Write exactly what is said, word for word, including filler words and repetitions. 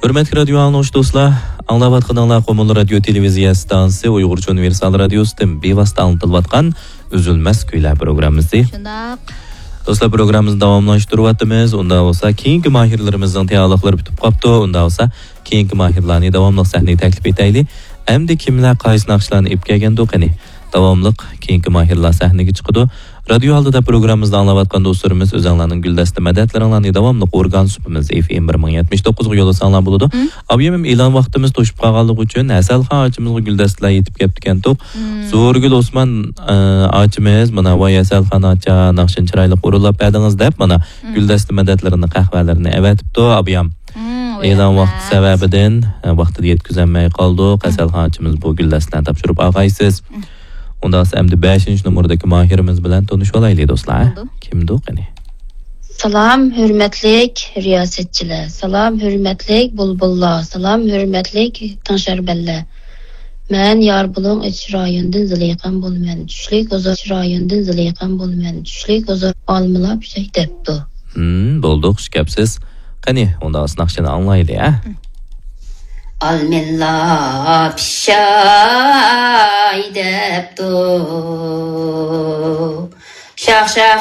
ھۆرمەتلىك رادىيو ئاڭلىغۇچى دوستلار، ئاڭلاۋاتقىنىڭلار قۇمۇل رادىيو تېلېۋىزىيە ئىستانسىسى ئۇيغۇرچە ئۇنىۋېرسال رادىيوسىدىن بىۋاسىتە ئاڭلىتىلىۋاتقان ئۈزۈلمەس كۈيلەر پروگراممىسى. شۇنداق. دوستلار، پروگراممىمىزنى داۋاملاشتۇرۇۋاتىمىز. ئۇنداق بولسا، كېيىنكى ماھىرلىرىمىزنىڭ تەييارلىقلىرى پۈتۈپ قاپتۇ. ئۇنداق بولسا، كېيىنكى ماھىرلارنى داۋاملىق سەھنىگە تەكلىپ ئېتەيلى. ئەمدى كىملەر قايسى ناخشىلارنى ئېلىپ كەلگەندۇ قېنى؟ داۋاملىق كېيىنكى ماھىرلار سەھنىگە چىقىدۇ. رادىيو ئالدىدا پروگراممىمىزنى ئاڭلاۋاتقان دوستلىرىمىز، ئۆزەڭلارنىڭ گۈلدەستە مەدەتلىرىڭلارنى داۋاملىق ئورگان سۇپىمىز ئېف ئېم بىر مىڭ يەتمىش توققۇزغا يوللىساڭلار بولىدۇ. مم. ئابىيىم، ئېلان ۋاقتىمىز توشۇپ قالغانلىقى ئۈچۈن ھەسەلخان ئاچىمىزغا گۈلدەستىلەر يېتىپ كەپتىكەنتۇق. مم. زورگۈل ئوسمان، ئە، ئاچىمىز، مانا، ۋاي ھەسەلخان ئاچا، ناخشىنى چىرايلىق ئورۇنلاپ بەردىڭىز دەپ، مانا، مم. گۈلدەستە مەدەتلىرىنى، قەھۋەلىرىنى ئەۋەتىپتۇ، ئابىيام. مم، ئېلان ۋاقتى سەۋەبىدىن، ئە، ۋاقتىدا يەتكۈزەلمەي قالدۇق. مم. ھەسەلخان ئاچىمىز بۇ گۈلدەستىلەرنى تاپشۇرۇپ ئالغايسىز. مم. ئۇنداق بولسا ئەمدى بەشىنچى نومۇردىكى ماھىرىمىز بىلەن تونۇشۇۋالايلى، دوستلار. بولىدۇ. كىمدۇ قېنى؟ سالام، ھۆرمەتلىك رىياسەتچىلەر. سالام، ھۆرمەتلىك بۇلبۇللار. سالام، ھۆرمەتلىك تىڭشاربەنلەر. مەن ياربۇلۇڭ ئېچىش رايونىدىن زىلىخان بولىمەن. چۈشلۈك ھۇزۇر، ئېچىش رايونىدىن زىلىخان بولىمەن. چۈشلۈك ھۇزۇر، ئالمىلار پىشاي دەپتۇ. ھىم، بولدى، خۇش كەپسىز. قېنى، ئۇنداق بولسا ناخشىنى ئاڭلايلى، ھە؟ ئالمىلار پىشاي دەپتۇ. شاخ-شاخ